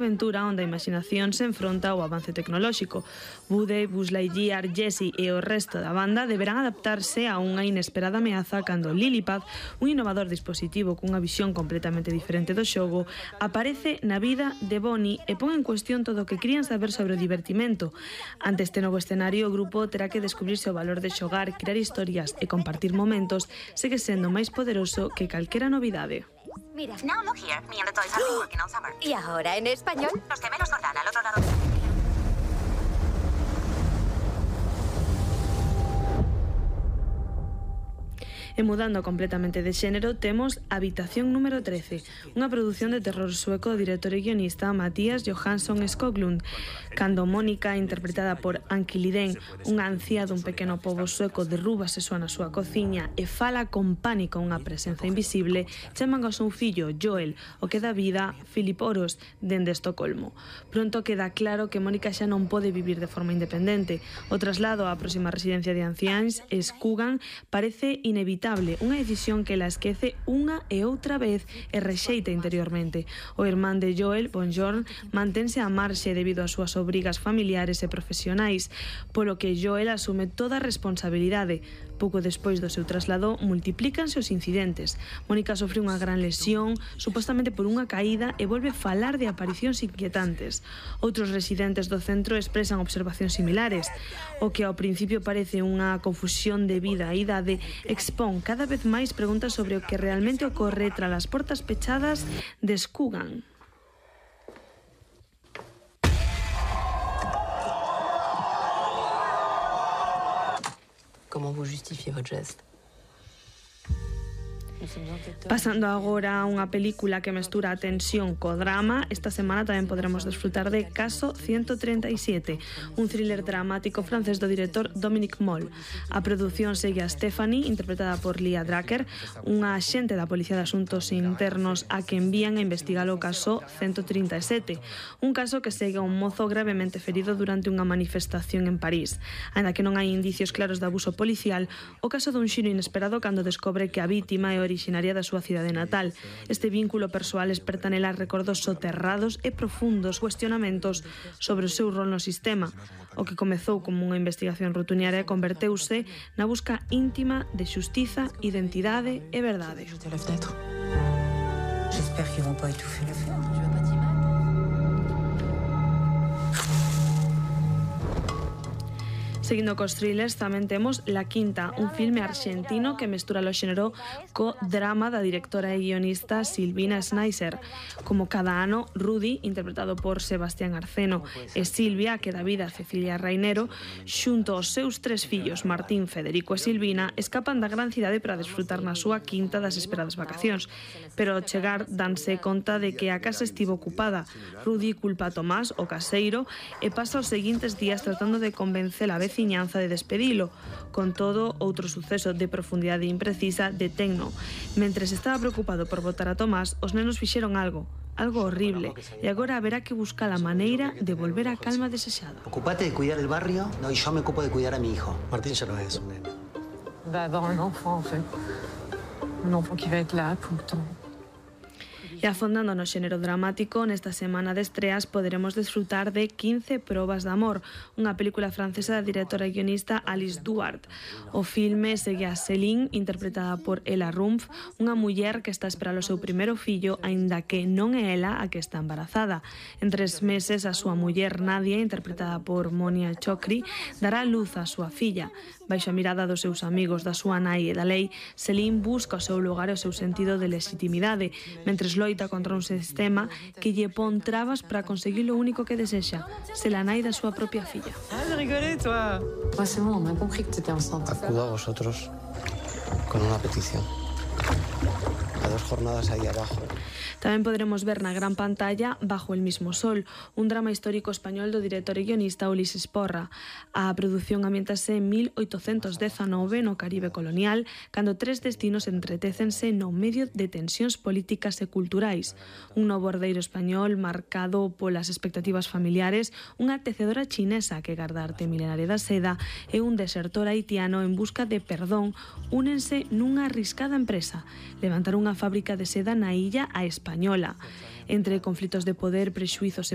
aventura onde a imaginación se enfronta ao avance tecnolóxico. Woody, Buzz Lightyear, Jessie e o resto da banda deberán adaptarse a unha inesperada ameaza cando Lillipad, un innovador dispositivo cunha visión completamente diferente do xogo, aparece na vida de Bonnie e pon en cuestión todo o que querían saber sobre o divertimento. Ante este novo escenario, o grupo terá que descubrirse o valor de xogar, crear historias e compartir momentos, segue sendo máis poderoso que calquera novidade. Mira. Now look here, me and the toys have been working all summer. ¿Y ahora en español? Los gemelos Jordán al otro lado. E mudando completamente de xénero, temos Habitación número 13, unha produción de terror sueco do director e guionista Mattias Johansson Skoglund, cando Mónica, interpretada por Anki Lidén, unha ancía dun pequeno pobo sueco, derrúbase soa na súa cociña e fala con pánico unha presenza invisible, chaman ao seu fillo Joel, o que dá vida Philip Oros, dende Estocolmo. Pronto queda claro que Mónica xa non pode vivir de forma independente. O traslado á próxima residencia de anciáns, Skugan, parece inevitable, unha decisión que la esquece unha e outra vez e rexeita interiormente. O irmán de Joel, Bonjorn, mantense a marxe debido ás súas obrigas familiares e profesionais, polo que Joel asume toda a responsabilidade. Pouco despois do seu traslado, multiplícanse os incidentes. Mónica sofre unha gran lesión, supostamente por unha caída, e volve falar de aparicións inquietantes. Outros residentes do centro expresan observacións similares. O que ao principio parece unha confusión de vida e idade expón cada vez máis preguntas sobre o que realmente ocorre tras as portas pechadas de Skugan. Comment vous justifiez votre geste? Pasando agora a unha película que mestura a tensión co drama, esta semana tamén podremos desfrutar de Caso 137, un thriller dramático francés do director Dominique Moll. A produción segue a Stephanie, interpretada por Lia Drucker, unha axente da Policía de Asuntos Internos a que envían a investigar o caso 137, un caso que segue a un mozo gravemente ferido durante unha manifestación en París. Ainda que non hai indicios claros de abuso policial, o caso dun xiro inesperado cando descobre que a vítima é originaria da súa cidade natal. Este vínculo persoal esperta nela recordos soterrados e profundos cuestionamentos sobre o seu rol no sistema. O que comezou como unha investigación rutinaria converteuse na busca íntima de xustiza, identidade e verdade. J'espère qu'ils vont pas étouffer la fête. Tu veux pas t'y mettre? Seguindo cos thrillers, tamén temos La Quinta, un filme arxentino que mestura o xénero co drama da directora e guionista Silvina Schneiser. Como cada ano, Rudy, interpretado por Sebastián Arceno, e Silvia, que dá vida a Cecilia Rainero, xunto aos seus tres fillos, Martín, Federico e Silvina, escapan da gran cidade para desfrutar na súa quinta das esperadas vacacións. Pero ao chegar danse conta de que a casa estivo ocupada. Rudy culpa a Tomás, o caseiro, e pasa os seguintes días tratando de convencer a veciñanza de despedilo. Con todo, outro suceso de profundidade imprecisa detenno. Mentres estaba preocupado por botar a Tomás, os nenos fixeron algo horrible, e agora haberá que buscar a maneira de volver á calma desexada. Ocupate de cuidar el barrio, no, y yo me ocupo de cuidar a mi hijo. Martín ya no es un nene. Va avoir un enfant, en fait. Un enfant qui va être là tout le temps. E afondando no xénero dramático, nesta semana de estreas poderemos desfrutar de 15 probas de amor, unha película francesa da directora e guionista Alice Duart. O filme segue a Céline, interpretada por Ella Rumpf, unha muller que está a esperar o seu primeiro fillo, aínda que non é ela a que está embarazada. En 3 meses, a súa muller Nadia, interpretada por Monia Chokri, dará luz á súa filla. Baixo a mirada dos seus amigos, da súa nai e da lei, Céline busca o seu lugar e o seu sentido de legitimidade, mentres loita contra un sistema que lle pon trabas para conseguir o único que desexa, ser a nai da súa propia filla. Ah, rigolé, toi. Ouais, c'est bon, on a compris que t'étais enceinte. Acudo a vosotros con una petición. A 2 jornadas ahí abajo. Tamén poderemos ver na gran pantalla Bajo el mismo sol, un drama histórico español do director e guionista Ulises Porra. A produción ambientase en 1819 no Caribe colonial, cando 3 destinos entretécense no medio de tensións políticas e culturais. Un novo herdeiro español marcado polas expectativas familiares, unha tecedora chinesa que garda arte milenaria da seda e un desertor haitiano en busca de perdón únense nunha arriscada empresa, levantar unha fábrica de seda na illa a Española. entre conflitos de poder, prexuizos e